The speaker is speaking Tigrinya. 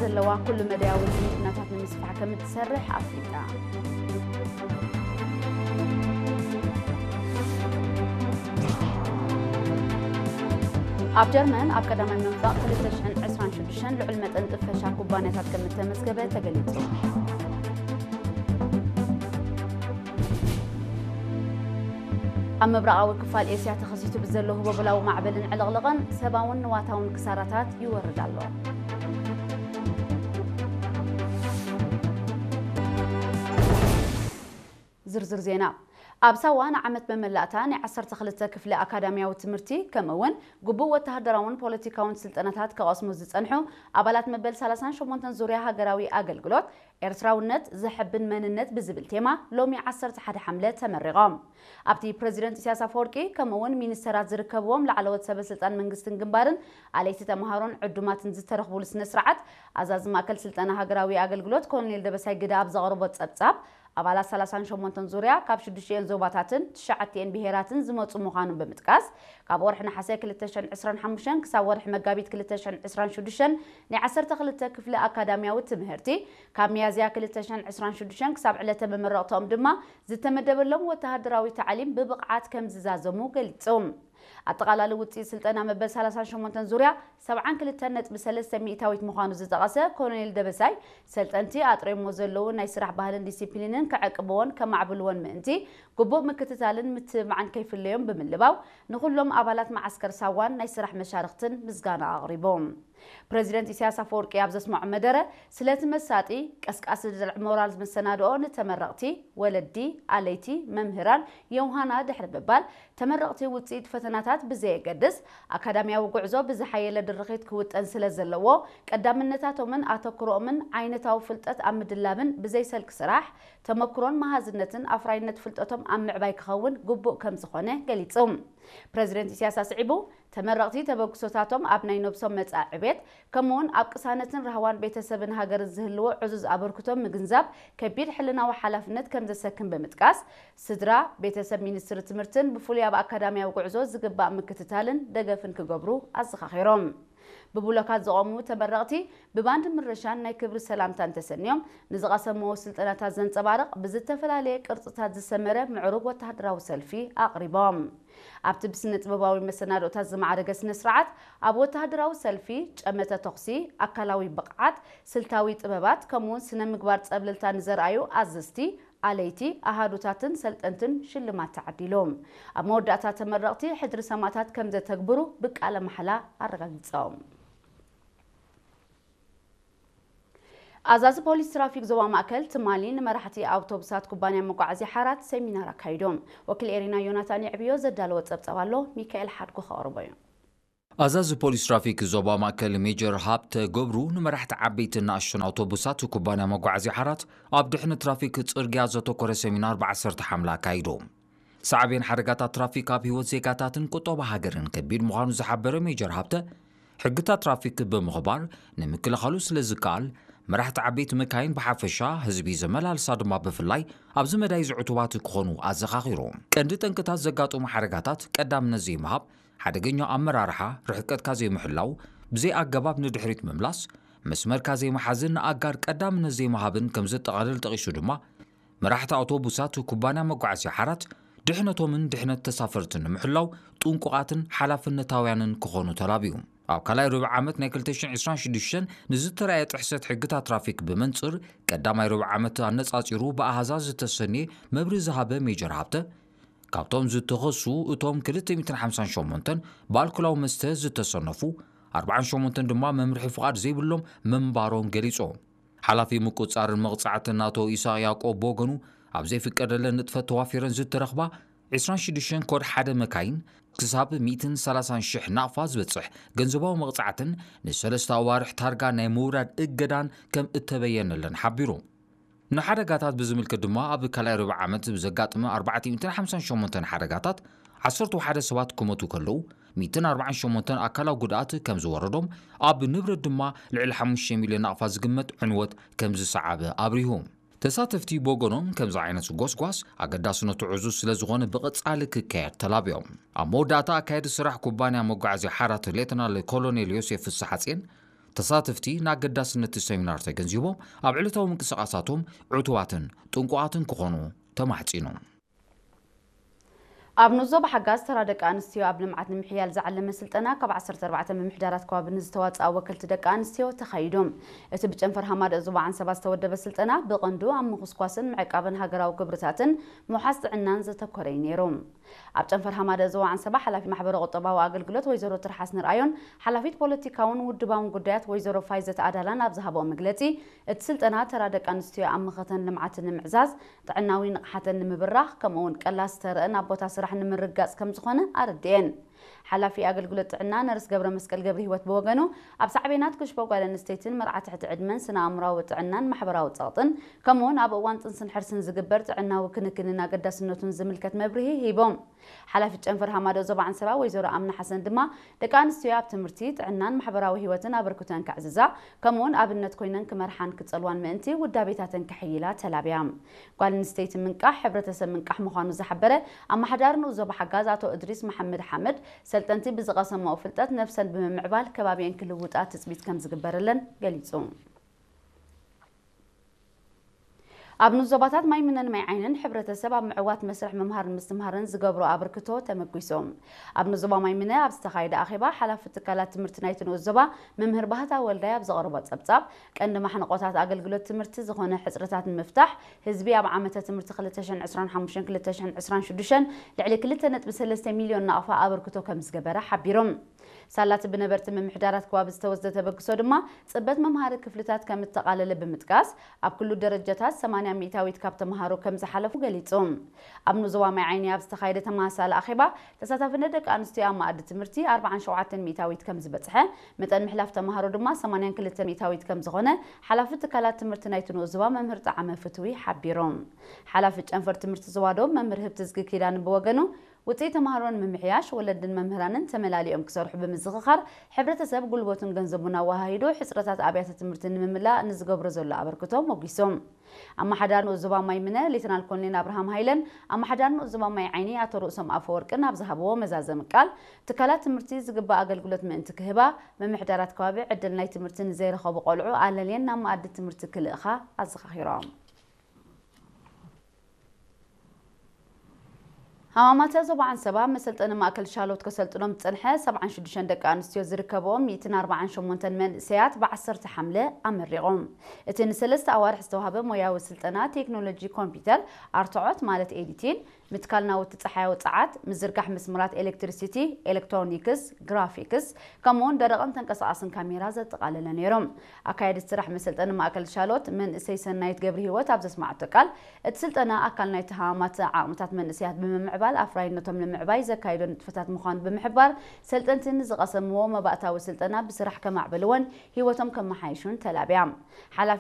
ዘለዋ ኩሉ መዳያዊ ዝምድናታት ንምስፋሕ ከም እትሰርሕ ኣፍሊጣ። ኣብ ጀርመን ኣብ ቀዳማይ መንፈቕ ክልተ ሽሕን ዕስራን ሽዱሽተን ልዑል መጠን ጥፈሻ ኩባንያታት ከም እተመዝገበ ተገሊጹ። ኣብ ምብራቓዊ ክፋል ኤስያ ተኸሲቱ ብዘሎ ህቦብላዊ ማዕበልን ዕልቕልቕን ሰብኣውን ንዋታውን ክሳራታት ይወርድ ኣሎ። ዝርዝር ዜና። ኣብ ሳዋ ንዓመት መመላእታ ናይ ዓሰርተ ክልተ ክፍሊ ኣካዳሚያዊ ትምህርቲ፣ ከምኡ እውን ግቡእ ወተሃደራውን ፖለቲካውን ስልጠናታት ክቐስሙ ዝጸንሑ ኣባላት መበል ሰላሳን ሸሞንተን ዙርያ ሃገራዊ ኣገልግሎት፣ ኤርትራውነት ዘሐብን መንነት ብዝብል ቴማ ሎሚ ዓሰርተ ሓደ ሓምለ ተመሪቖም። ኣብቲ ፕረዚደንት ኢሳያስ ኣፈወርቂ ከምኡ እውን ሚኒስተራት ዝርከብዎም ላዕለዎት ሰበ ስልጣን መንግስትን ግንባርን ኣለይቲ ተምሃሮን ዕዱማትን ዝተረኽቡሉ ስነ ስርዓት፣ ኣዛዚ ማእከል ስልጠና ሃገራዊ ኣገልግሎት ኮሎኔል ደበሳይ ግደ ኣብ ዘቕረቦ ጸብጻብ፣ ኣባላት ሰላሳን ሸሞንተን ዙርያ ካብ ሽዱሽቲኤን ዞባታትን ትሽዓቲኤን ብሄራትን ዝመጹ ምዃኖም ብምጥቃስ፣ ካብ ወርሒ ነሓሰ ክልተ ሽሕን ዕስራን ሓሙሽተን ክሳብ ወርሒ መጋቢት ክልተ ሽሕን ዕስራን ሽዱሽተን ናይ ዓሰርተ ክልተ ክፍሊ ኣካዳሚያዊ ትምህርቲ፣ ካብ ሚያዝያ ክልተ ሽሕን ዕስራን ሽዱሽተን ክሳብ ዕለተ መመረቕትኦም ድማ ዝተመደበሎም ወተሃደራዊ ታዕሊም ብብቕዓት ከም ዝዛዘሙ ገሊጹ። ኣጠቓላሊ ውጽኢት ስልጠና መበል ሰላሳን ሸሞንተን ዙርያ ሰብዓን ክልተን ነጥቢ ሰለስተ ሚእታዊት ምዃኑ ዝጠቐሰ ኮሎኔል ደበሳይ፣ ሰልጠንቲ ኣጥሪሞ ዘለዉ ናይ ስራሕ ባህልን ዲሲፕሊንን ክዕቅብዎን ከማዕብልዎን ምእንቲ፣ ግቡእ ምክትታልን ምትብባዕን ከይፍለዮም ብምልባው፣ ንኹሎም ኣባላት መዓስከር ሳዋን ናይ ስራሕ መሻርኽትን ምስጋና ኣቕሪቡ። ፕረዚደንት ኢሳያስ ኣፈወርቂ ኣብ ዘስምዖ መደረ፣ ስለቲ መሳጢ፣ ቀስቃሲ ድልዕ ሞራል መሰናድኦ ንተመረቕቲ፣ ወለዲ፣ ኣለይቲ፣ መምህራን፣ የውሃና ድሕሪ ምባል፣ ተመረቕቲ ውጽኢት ፈተናታት ብዘየገድስ፣ ኣካዳሚያዊ ጉዕዞ ብዝሓየለ ድርኺት ክውጠን ስለ ዘለዎ፣ ቀዳምነታቶምን ኣተኩሮኦምን ዓይነታዊ ፍልጠት ኣብ ምድላብን ብዘይሰልኪ ስራሕ፣ ተመክሮን መሃዝነትን ኣፍራይነት ፍልጠቶም ኣብ ምዕባይ ክኸውን ግቡእ ከም ዝኾነ ገሊጹ። ፕረዚደንት ኢሳያስ ኣስዒቡ፣ ተመረቕቲ ተበግሶታቶም ኣብ ናይ ነብሶም መጻኢ ዕቤት፣ ከምኡውን ኣብ ቅሳነትን ራህዋን ቤተሰብን ሃገርን ዝህልዎ ዕዙዝ ኣበርክቶ ምግንዛብ ከቢድ ሕልናዊ ሓላፍነት ከም ዘሰክም ብምጥቃስ፣ ስድራ፣ ቤተሰብ ሚኒስትሪ ትምህርትን ብፍሉይ ኣብ ኣካዳሚያዊ ጉዕዞ ዝግባእ ምክትታልን ደገፍን ክገብሩ ኣዘኻኺሮም። ብብሎካት ዝቖሙ ተመረቕቲ ብባንድ ምርሻን ናይ ክብሪ ሰላምታን ተሰንዮም፣ ንዝቐሰምዎ ስልጠናታት ዘንጸባርቕ ብዝተፈላለየ ቅርጽታት ዝሰመረ ምዕሩግ ወተሃደራዊ ሰልፊ ኣቕሪቦም። ኣብቲ ብስነ ጥበባዊ መሰናዶታት ዝማዕረገ ስነ ስርዓት፣ ኣብ ወተሃደራዊ ሰልፊ፣ ጨመተ ተኹሲ፣ ኣካላዊ ብቕዓት፣ ስልታዊ ጥበባት፣ ከምኡውን ስነ ምግባር ጸብለልታ ንዘርኣዩ ኣዘዝቲ፣ ኣለይቲ፣ ኣሃዱታትን ሰልጠንትን ሽልማት ተዓዲሉ። ኣብ መወዳእታ ተመረቕቲ ሕድሪ ሰማእታት ከም ዘተግብሩ ብቃለ ማሕላ ኣረጋጊጾም። ኣዛዚ ፖሊስ ትራፊክ ዞባ ማእከል ትማሊ ንመራሕቲ ኣውቶቡሳት ኩባንያ መጓዓዝያ ሓራት ሰሚናር ኣካይዶም። ወኪል ኤሪና ዮናታን የዕብዮ ዘዳለዎ ጸብጻብ ኣሎ፣ ሚካኤል ሓድጉ ከቕርቦ እዩ። ኣዛዚ ፖሊስ ትራፊክ ዞባ ማእከል ሜጀር ሃብተ ገብሩ ንመራሕቲ ዓበይትን ንኣሽቱን ኣውቶቡሳት ኩባንያ መጓዓዝያ ሓራት ኣብ ድሕነት ትራፊክ ጽርግያ ዘተኮረ ሰሚናር ብዓሰርተ ሓምለ ኣካይዶም። ሳዕቤን ሓደጋታት ትራፊክ ኣብ ህይወት ዜጋታትን ቁጠባ ሃገርን ከቢድ ምዃኑ ዝሓበረ ሜጀር ሃብተ፣ ሕግታት ትራፊክ ብምኽባር ንምክልኻሉ ስለ ዝከኣል፣ መራሕቲ ዓበይቲ መካይን ብሓፈሻ፣ ህዝቢ ዘመላልሳ ድማ ብፍላይ ኣብዚ መዳይ ዝዕቱባት ክኾኑ ኣዘኻኺሩ። ቀንዲ ጠንቅታት ዘጋጥሙ ሓደጋታት ቀዳምነት ዘይምሃብ፣ ሓደገኛ ኣመራርሓ፣ ርሕቀትካ ዘይምሕላው፣ ብዘይ ኣገባብ ንድሕሪት ምምላስ፣ መስመርካ ዘይምሓዝን ንኣጋር ቀዳምነት ዘይምሃብን ከም ዘጠቓልል ጠቒሱ ድማ፣ መራሕቲ ኣውቶቡሳት ኩባንያ መጓዓዝያ ሓራት ድሕነቶምን ድሕነት ተሳፈርትን ንምሕላው ጥንቁቓትን ሓላፍነታውያንን ክኾኑ ተላብዩ። ኣብ ካልኣይ ርብዒ ዓመት ናይ ክልተ ሽሕን ዕስራን ሽዱሽተን ንዝተራእየ ጥሕሰት ሕግታት ትራፊክ ብመንጽር ቀዳማይ ርብዒ ዓመት ኣነጻጺሩ ብኣሃዛት ዝተሰንየ መብርሂ ዝሃበ ሜጀር ሃብተ፣ ካብቶም ዝተኸሱ እቶም ክልተ ሚእትን ሓምሳን ሸሞንተን ብኣልኮላዊ መስተ ዝተሰነፉ፣ ኣርባዓን ሸሞንተን ድማ መምርሒ ፍቓድ ዘይብሎም ምንባሮም ገሊጹ። ሓላፊ ምቁጽጻርን መቕጻዕትን ኣቶ ኢሳቕ ያዕቆብ ብወገኑ፣ ኣብ ዘይፍቀደለን ንጥፈት ተዋፊረን ዝተረኽባ ዕስራን ሽዱሽተን ኮድ ሓደ መካይን ክሳብ ሚእትን ሰላሳን ሽሕ ናቕፋ ዝበጽሕ ገንዘባዊ መቕጻዕትን ንሰለስተ ኣዋርሕ ታርጋ ናይ ምውራድ እገዳን ከም እተበየነለን ሓቢሩ። ንሓደጋታት ብዝምልከት ድማ ኣብ ካልኣይ ርብዒ ዓመት ብዘጋጠመ ኣርባዕተ ሚእትን ሓምሳን ሸሞንተን ሓደጋታት ዓሰርተ ሓደ ሰባት ክሞቱ ከለዉ፣ ሚእትን ኣርባዓን ሸሞንተን ኣካላዊ ጉድኣት ከም ዝወረዶም፣ ኣብ ንብረት ድማ ልዕሊ ሓሙሽተ ሚልዮን ናቕፋ ዝግመት ዕንወት ከም ዝሰዓበ ኣብሪሁ። ተሳተፍቲ ብወገኖም፣ ከምዚ ዓይነት ጎስጓስ ኣገዳስነቱ ዕዙዝ ስለ ዝኾነ ብቐጻሊ ክካየድ ተላብዮም። ኣብ መወዳእታ ኣካያዲ ስራሕ ኩባንያ መጓዓዝያ ሓራት ሌተናል ኮሎኔል ዮሴፍ ፍስሓጽዮን፣ ተሳተፍቲ ንኣገዳስነት እቲ ሰሚናር ተገንዚቦም፣ ኣብ ዕለታዊ ምንቅስቓሳቶም ዕቱባትን ጥንቁቓትን ክኾኑ ተማሕጺኑ። ኣብ ንኡስ ዞባ ሓጋዝ ተራ ደቂ ኣንስትዮ ኣብ ልምዓት ንምሕያል ዝዓለመ ስልጠና ካብ ዓሰርተ ኣርባዕተ ምምሕዳራት ከባቢ ንዝተዋፅኣ ወከልቲ ደቂ ኣንስትዮ ተኻይዱ። እቲ ብጨንፈር ሃማደእ ዞባ ዓንሰባ ዝተወደበ ስልጠና ብቐንዱ ኣብ ምኹስኳስን ምዕቃብን ሃገራዊ ግብርታትን ምውሓስ ጥዕናን ዘተኮረ እዩ ነይሩ። ኣብ ጨንፈር ሃማደእ ዞባ ዓንሰባ ሓላፊ ማሕበረ ቁጠባዊ ኣገልግሎት ወይዘሮ ትርሓስ ንርኣዮን ሓላፊት ፖለቲካውን ውድባውን ጉዳያት ወይዘሮ ፋይዘት ኣዳላን ኣብ ዝሃብኦ መግለፂ፣ እቲ ስልጠና ተራ ደቂ ኣንስትዮ ኣብ መኸተን ልምዓትን ንምዕዛዝ፣ ጥዕናዊ ንቕሓተን ንምብራኽ፣ ከምኡ እውን ቀላስ ተረአን ኣብ ቦታ ስራሕ ንምርግጋፅ ከም ዝኾነ ኣረድኤን። ሓላፊ ኣገልግሎት ጥዕና ነርስ ገብረ መስቀል ገብረ ህይወት ብወገኑ፣ ኣብ ሳዕቤናት ክሽቦ ጓል ኣንስተይትን መርዓ ትሕቲ ዕድመን ስነ ኣእምራዊ ጥዕናን ማሕበራዊ ጸቕጥን፣ ከምኡ እውን ኣብ እዋን ጥንስን ሕርስን ዝግበር ጥዕናዊ ክንክንን ኣገዳስነቱን ዝምልከት መብርሂ ሂቦም። ሓላፊት ጨንፈር ሃማዶ ዞባ ዓንሰባ ወይዘሮ ኣምና ሓሰን ድማ፣ ደቂ ኣንስትዮ ኣብ ትምህርቲ፣ ጥዕናን ማሕበራዊ ህይወትን ኣበርክቶን ከዕዝዛ፣ ከምኡ እውን ኣብነት ኮይነን ክመርሓን ክጸልዋን ምእንቲ ውዳቤታተን ከሕይላ ተላብያ። ጓል ኣንስተይቲ ምንቃሕ ሕብረተሰብ ምንቃሕ ምዃኑ ዝሓበረ ኣመሓዳሪ ንኡስ ዞባ ሓጋዝ ኣቶ እድሪስ መሓመድ ሓመድ፣ ሰልጠንቲ ብዝቐሰምኦ ፍልጠት ነብሰን ብምምዕባል ከባቢአን ክልውጣ ትጽቢት ከም ዝግበረለን ገሊጹ። ኣብ ንኡስ ዞባታት ማይ ምነን ማይ ዓይንን ሕብረተሰብ ኣብ ምዕዋት መስርሕ ምምሃርን ምስትምሃርን ዝገብሮ ኣበርክቶ ተመጒሶም። ኣብ ንኡስ ዞባ ማይ ምነ ኣብ ዝተኻየደ ኣኼባ፣ ሓላፊ ትካላት ትምህርቲ ናይቲ ንኡስ ዞባ መምህር ባህታ ወልዳይ ኣብ ዘቕረቦ ጸብጻብ፣ ቀንዲ ማሕንቆታት ኣገልግሎት ትምህርቲ ዝኾነ ሕጽረታት ንምፍታሕ፣ ህዝቢ ኣብ ዓመተ ትምህርቲ ክልተ ሽሕን ዕስራን ሓሙሽተን ክልተ ሽሕን ዕስራን ሽዱሽተን ልዕሊ ክልተ ነጥቢ ሰለስተ ሚልዮን ናቕፋ ኣበርክቶ ከም ዝገበረ ሓቢሮም። ሳላቲ ብነበርቲ ምምሕዳራት ከባቢ ዝተወስደ ተበግሶ ድማ፣ ጽበት መምሃሪ ክፍልታት ከም እተቓለለ ብምጥቃስ፣ ኣብ ኩሉ ደረጃታት ሰማንያ ሚእታዊት ካብ ተምሃሮ ከም ዝሓለፉ ገሊጹ። ኣብ ንኡስ ዞባ ማይ ዓይኒ ኣብ ዝተኻየደ ተመሳሳሊ ኣኼባ፣ ተሳታፍነት ደቂ ኣንስትዮ ኣብ መኣዲ ትምህርቲ ኣርባዓን ሸውዓተን ሚእታዊት ከም ዝበጽሐ፣ መጠን ምሕላፍ ተምሃሮ ድማ ሰማንያን ክልተን ሚእታዊት ከም ዝኾነ፣ ሓላፊ ትካላት ትምህርቲ ናይቲ ንኡስ ዞባ መምህር ጠዓመ ፍትዊ ሓቢሮም። ሓላፊ ጨንፈር ትምህርቲ ዞባ ዶብ መምህር ህብትዝጊ ኪዳነ ብወገኑ፣ ውጽኢት ተምሃሮ ንምምሕያሽ፣ ወለድን መምህራንን ተመላሊኦም ክሰርሑ ብምዝኽኻር፣ ሕብረተሰብ ጉልበቱን ገንዘቡን ኣወሃሂዱ ሕጽረታት ኣብያተ ትምህርቲ ንምምላእ ንዝገብሮ ዘሎ ኣበርክቶ ሞጒሶም። ኣመሓዳሪ ንኡስ ዞባ ማይ ምነ ሌተናል ኮሎኔል ኣብርሃም ሃይለን ኣመሓዳሪ ንኡስ ዞባ ማይ ዓይኒ ኣቶ ርእሶም ኣፈወርቅን ኣብ ዝሃብዎ መዛዘሚ ቃል፣ ትካላት ትምህርቲ ዝግባእ ኣገልግሎት ምእንቲ ክህባ፣ ምምሕዳራት ከባቢ ዕድል ናይ ትምህርቲ ንዘይረኸቡ ቆልዑ ኣለልየን ናብ መኣዲ ትምህርቲ ክልእኻ ኣዘኻኺሮም። ሃማማተ ዞባ ዓንሰባ መሰልጠኒ ማእከል ሻሎት ከሰልጥኖም ዝጸንሐ ሰብዓን ሽዱሽተን ደቂ ኣንስትዮ ዝርከብኦም ሚእትን ኣርባዓን ሸሞንተን መንእሰያት ብዓሰርተ ሓምለ ኣመሪቖም። እቲ ንሰለስተ ኣዋርሕ ዝተዋህበ ሞያዊ ስልጠና ቴክኖሎጂ ኮምፒውተር፣ ኣርትዖት ማለት ኤዲቲን፣ ምትካል ናውቲ ጸሓያዊ ጸዓት፣ ምዝርጋሕ መስመራት ኤሌክትሪሲቲ፣ ኤሌክትሮኒክስ፣ ግራፊክስ፣ ከምኡውን ደረቕን ተንቀሳቓስን ካሜራ ዘጠቓለለ ነይሮም። ኣካየዲት ስራሕ መሰልጠኒ ማእከል ሻሎት መንእሰይ ሰናይት ገብረ ህይወት ኣብ ዘስማዓቶ ቃል፣ እቲ ስልጠና ኣካል ናይቲ ሃማማት ዓቕምታት መንእሰያት ብምምዕባል ኣፍራይነቶም ንምዕባይ ዘካይዶ ንጥፈታት ምዃኑ ብምሕባር፣ ሰልጠንቲ ንዝቐሰምዎ መባእታዊ ስልጠና ብስራሕ ከማዕበልዎን ህይወቶም ከመሓይሹን ተላብያ። ሓላፊ